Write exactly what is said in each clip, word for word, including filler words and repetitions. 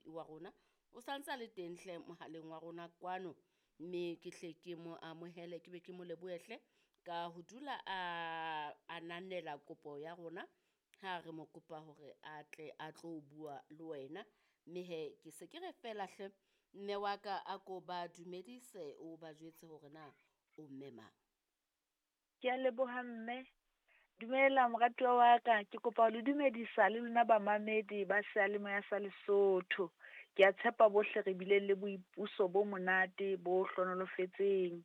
le wa rona. O santse a le teng hle mohaleng wa rona kwano, mme ke hle ke mo amohele ke be ke mo lebohe hle ka ho dula a ananela kopo ya rona ha re mo kopa hore a tle a tlo bua le wena. Mme hee ke se ke re fela hle mme wa ka a ko ba dumedise, o ba jwetse hore na o mme mang. Ke a leboha mme. Dumela moratuwa wa ka, ke kopa ho le dumedisa le lona bamamedi ba seyalemoya sa Lesotho. Ke a tshepa bohle re bile le boipuso bo monate bo hlonolofetseng.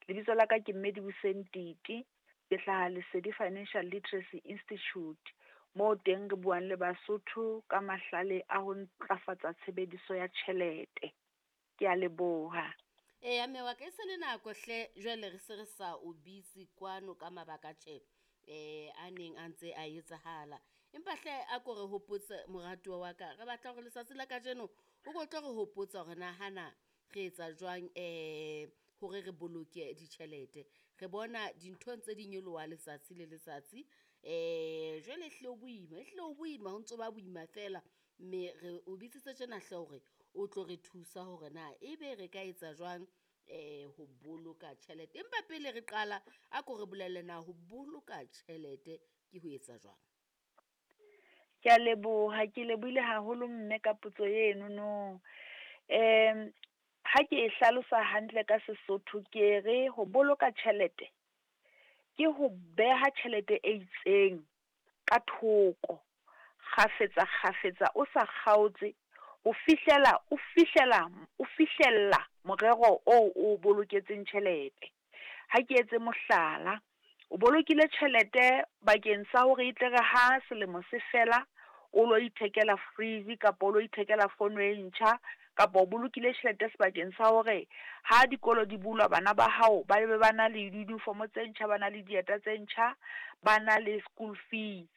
Lebitso la ka ke mme Dibuseng Titi, ke hlaha Lesedi Financial Literacy Institute. Moo teng re buang le Basotho ka mahlale a ho ntlafatsa tshebediso ya tjhelete. Ke a leboha. Eya mme wa ka, e se le nako hle jwale re se re sa o bitse kwano ka mabaka tjhe eh a neng a ntse a etsahala. Empa hle a ko re hopotse moratuwa wa ka, re batla hore letsatsi la kajeno o ko tlo re hopotsa hore na hana re etsa jwang eh hore re boloke ditjhelete. Re bona dintho ntse di nyoloha letsatsi le letsatsi, eh jwale ehlile ho boima, ehlile ho boima ho ntso ba boima fela. Mme re o bitsitse tjena hle hore o tlo re thusa hore na ebe re ka etsa jwang eh ho boloka tjhelete. Empa pele re qala, a ko re bolelle na ho boloka tjhelete ke ho etsa jwang? Ke a leboha, ke lebohile haholo mme ka potso eno no. Um ha ke e hlalosa hantle ka Sesotho, ke re ho boloka tjhelete ke ho beha tjhelete e itseng ka thoko kgafetsa kgafetsa, o sa kgaotse ho fihlela o fihlela, o fihlella morero oo o boloketseng tjhelete. Ha ke etse mohlala, o bolokile tjhelete bakeng sa hore e tle re ha selemo se fela, o lo ithekela fridge kapa o lo ithekela fono e ntjha, kapa o bolokile tjhelete sebakeng sa hore ha dikolo di bulwa bana ba hao ba be ba na le di-uniform tse ntjha, ba na le dieta tse ntjha, ba na le school fees.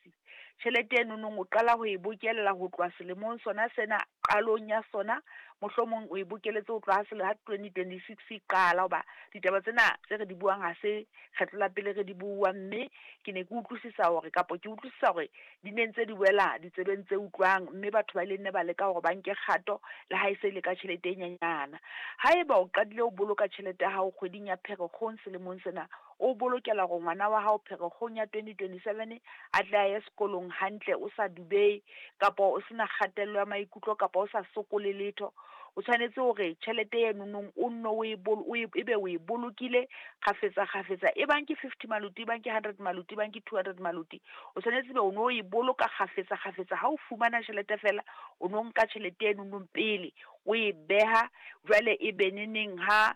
Tjhelete eno nong o qala ho e bokella ho tloha selemong sona sena, qalong ya sona, mohlomong o e bokelletse ho tloha ha ha twenty twenty six e qala. Hoba ditaba tsena tse re di buang ha se kgetlo la pele re di bua, mme ke ne ke utlwisisa hore kapa ke utlwisisa hore di ne ntse di wela ditsebeng tse utlwang, mme batho ba ile nne ba leka hore ba nke kgato le ha e se le ka tjhelete e nyenyana. Haeba o qadile ho boloka tjhelete ya hao kgweding ya Pherekgong selemong sena, o bolokela hore ngwana wa hao Pherekgong ya twenty twenty seven a tle a ye sekolong hantle, o sa dubehe kapa o sena kgatello ya maikutlo kapa o sa sokole letho. O tshwanetse hore tjhelete eno nong o nno o e o e ebe o e bolokile kgafetsa kgafetsa, e bang ke fifty maluti, e bang ke hundred maluti, e bang ke two hundred maluti, o tshwanetse ebe o no e boloka kgafetsa kgafetsa. Ha o fumana tjhelete fela, o no nka tjhelete eno nong pele o e beha, jwale e be neneng ha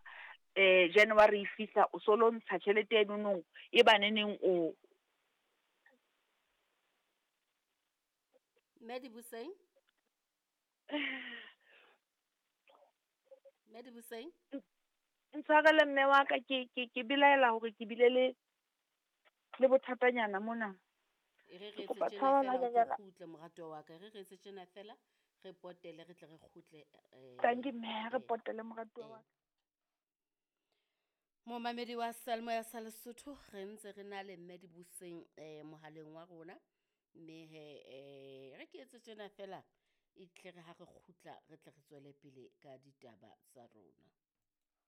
eh January e fihla, o so lo ntsha tjhelete eno nong, e ba neneng o Mme Dibuseng? Mme Dibuseng? Ntshwarele mme wa ka, ke ke ke belaela hore ke bile le le bothatanyana mona. E re re Ke etse kopa tjena tshwarelo fela o tlo hanyenyana. kgutle moratuwa wa ka. E re re etse tjena fela re potele re tle re kgutle eh Tanki mme, re eh, potele moratuwa eh. wa ka. Momamedi wa Seyalemoya sa Lesotho, re ntse re na le mme Dibuseng eh mohaleng wa rona. Mme he eh re ke etse tjena fela e tle re ha re kgutla re tle re tswele pele ka ditaba tsa rona.